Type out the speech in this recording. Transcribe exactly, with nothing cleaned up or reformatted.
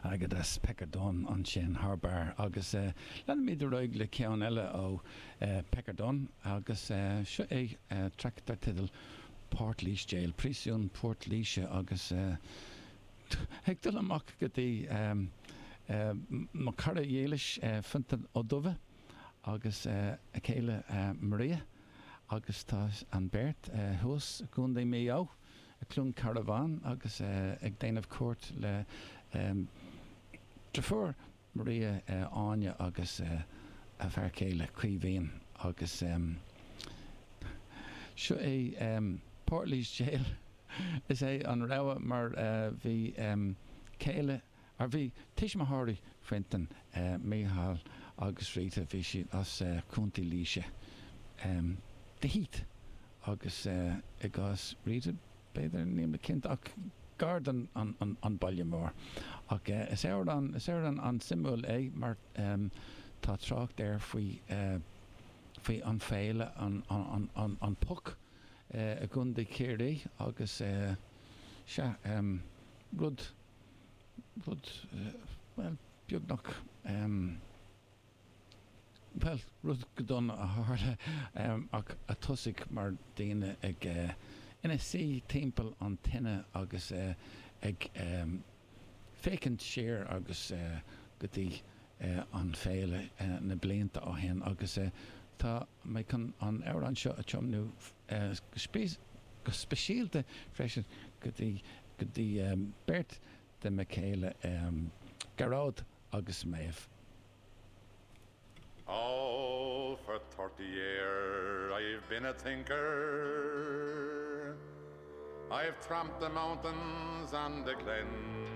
Agat as Pecker Dunne ansin thar barr agus uh, leanfaimid ar aghaidh le ceann eile ó uh, Pecker Dunne agus uh, seo é uh, traic dar teideal Portlaoise Jail, Príosún Port Laoise agus uh, ag dul amach go dtí um, uh, mo chara dílis uh, Fintan Ó Dubha agus uh, a chéile uh, Maria agus tá an bheirt uh, thuas i gContae Mhaigh Eo i Cluain Carbháin agus uh, ag déanamh cuairt le um, deirfiúr Maria uh, Áine agus uh, a fear céile Caoimhín agus um, seo é um, Portlaoise Jail is é an rogha mar uh, bhí um, céile ar bhí tuismitheoirí Fintan uh, Micheál agus Rita bhí siad as uh, Contae Laoise. Um, The Heath agus uh, i gcás Rita b'fhéidir níl mé cinnte ach gar don an, an, an baile mór. Ach uh, is amhrán is amhrán an-suimiúil é mar um, tá trácht air faoi uh, faoi an féile an, an, an, an, an Puck uh, i gContae Chiarraí agus uh, se um, rud rud uh, well beagnach um, well rud go dona a tharla um, ach a thosaigh mar daoine ag uh, ina suí timpeall an tine agus uh, ag um, féachaint siar agus uh, go dtí uh, an féile uh, na blianta ó shin agus uh, tá mé chun an amhrán seo a tiomnú uh, go speisialta freisin go dtí go dtí um, beirt de mo chéile um, Gearóid agus Méabh. Oh, for thirty years I've been a thinker. I've tramped the mountains and the glens.